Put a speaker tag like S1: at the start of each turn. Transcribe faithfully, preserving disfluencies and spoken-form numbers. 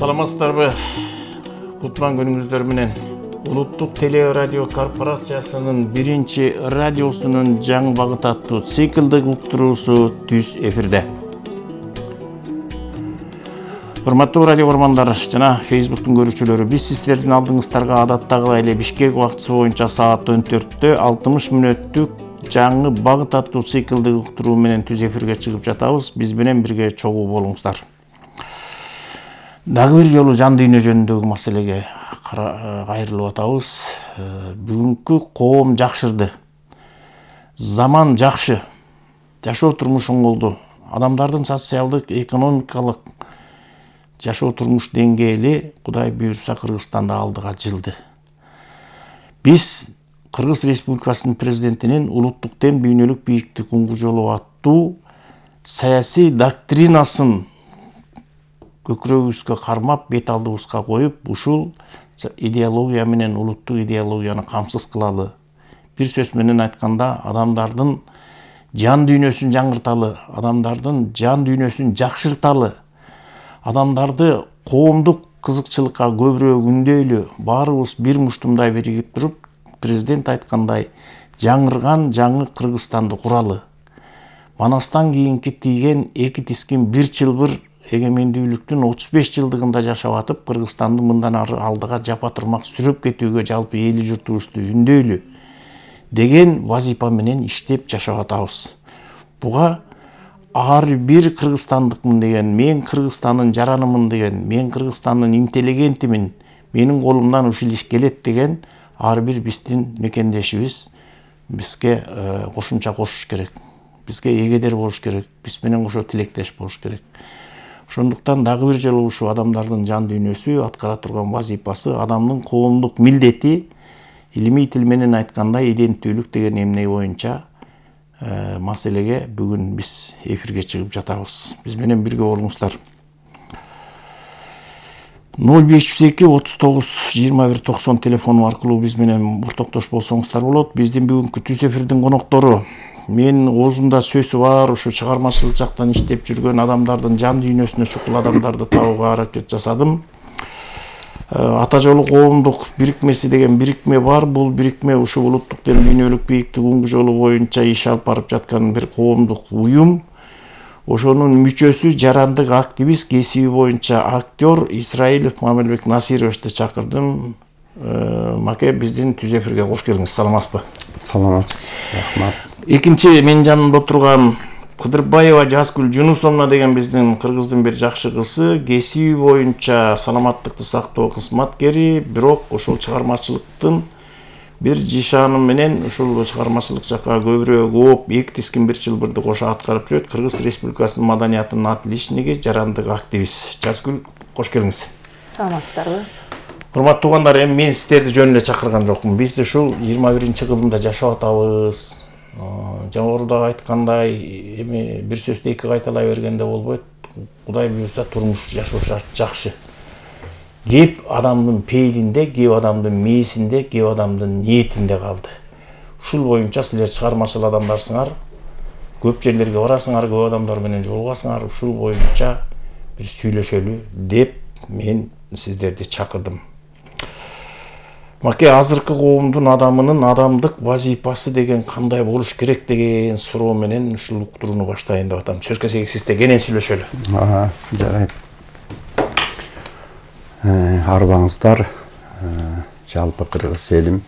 S1: Саламатсыздарбы? Кутман күнүңүздөр менен. Улуттук телерадио корпорациясынын биринчи радиосунун жаңы багыт аттуу циклдык уктуруусу түз эфирде. Урматтуу радио көрмандар жана Facebooktун көрүүчүлөрү, биз сиздердин алдыңыздарга адаттагыдай эле Бишкек убактысы боюнча саат он төрттө алтымыш мүнөттүк жаңы багыт аттуу циклдык уктуруу менен түз эфирге чыгып жатабыз. Биз менен бирге чогуу болуңуздар. Дагы бир жолу жан дүйнө жөнүндөгү маселеге кайрылып атабыз. Бүгүнкү коом жакшырды. Заман жакшы. Жашоо турмуш оңголду. Адамдардын социалдык, экономикалык жашоо турмуш деңгээли Кудай буйрса Кыргызстанда алдыга жылды. Биз Кыргыз Республикасынын президентинин улуттук дем дүйнөлүк бийиктик уңгу жолу аттуу саясий доктринасын көкүрөгүбүзгө кармап, бет алдыбызга коюп, ушул идеология менен улуттук идеологияны камсыз кылалы. Бир сөз менен айтканда, адамдардын жан дүйнөсүн жаңырталы, адамдардын жан дүйнөсүн жакшырталы, адамдарды коомдук кызыкчылыкка көбүрөөк үндөйлү, баарыбыз бир муштумдай биригип туруп, президент айткандай, жаңырган жаңы Кыргызстанды куралы. Манастан кийинки тийген эки тискин бир чылбыр эгемендүүлүктүн отуз беш жылдыгында жашап атып, Кыргызстанды мындан ары алдыга жапа турмак сүрөп кетүүгө жалпы эли журтубузду үндөйлү деген вазифа менен иштеп жашап атабыз. Буга ар бир кыргызстандыкмын деген, мен Кыргызстандын жаранымын деген, мен Кыргызстандын интеллигентимин, менин колумдан ушул иш келет деген ар бир биздин мекендешибиз бизге кошумча кошуш керек. Бизге эгедер болуш керек, биз менен кошо тилектеш болуш керек. Ошондуктан дагы бир жолу ушул адамдардын жан дүйнөсү, аткара турган вазифасы, адамдын коомдук милдети, илимий тил менен айтканда иденттүүлүк деген эмне боюнча маселеге бүгүн биз эфирге чыгып жатабыз. Биз менен бирге болуңуздар. ноль беш жүз эки отуз тогуз жыйырма бир токсон телефону аркылуу биз менен ортоктош болсоңуздар болот. Биздин бүгүнкү түз эфирдин коноктору, мен оозунда сөзү бар, ушу чыгармачылык жактан иштеп жүргөн адамдардын жан дүйнөсүнө чукул адамдарды табууга аракет жасадым. Ата жолу коомдук бирикмеси деген бирикме бар. Бул бирикме ушул улуттук дем дүйнөлүк бийиктик уңгу жолу боюнча иш алып барып жаткан бир коомдук уюм. Ошонун мүчөсү, жарандык активист, кесиби боюнча актер Исраилов Мамелбек Насировичти чакырдым. Маке, биздин түз эфирге кош келиңиз. Саламатсызбы?
S2: Саламатсыз, рахмат.
S1: Экинчи менин жанымда отурган Кыдырбаева Жазгүл Жунусовна деген биздин кыргыздын бир жакшы кызы, кесиби боюнча саламаттыкты сактоо кызматкери, бирок ошол чыгармачылыктын бир жишаны менен ушул чыгармачылык жакка көбүрөөк ооп, эки тискин бир чылбырды кошо аткарып жүрөт. Кыргыз Республикасынын маданиятынын отличниги, жарандык активист. Жазгүл, кош келиңиз.
S3: Саламатсыздарбы?
S1: Урматтуу туугандар, эми мен сиздерди жөн эле чакырган жокмун. Биз ушул жыйырма биринчи кылымда жашап атабыз. Жогоруда айткандай, эми бир сөздү эки кайталай бергенде болбойт. Кудай буйрса турмуш жашоо жакшы. Кеп адамдын пейилинде, кеп адамдын мээсинде, кеп адамдын ниетинде калды. Ушул боюнча силер чыгармачыл адамдарсыңар, көп жерлерге барасыңар, көп адамдар менен жолугасыңар, ушул боюнча бир сүйлөшөлү деп мен сиздерди чакырдым. Маке, азыркы коомдун адамынын адамдык вазифасы деген кандай болуш керек деген суроо менен ушул уктурууну баштайын деп атам. Сөз кезеги сизде, кенен сүйлөшөлү.
S2: Ага, жарайт. Арбаңыздар, жалпы кыргыз элим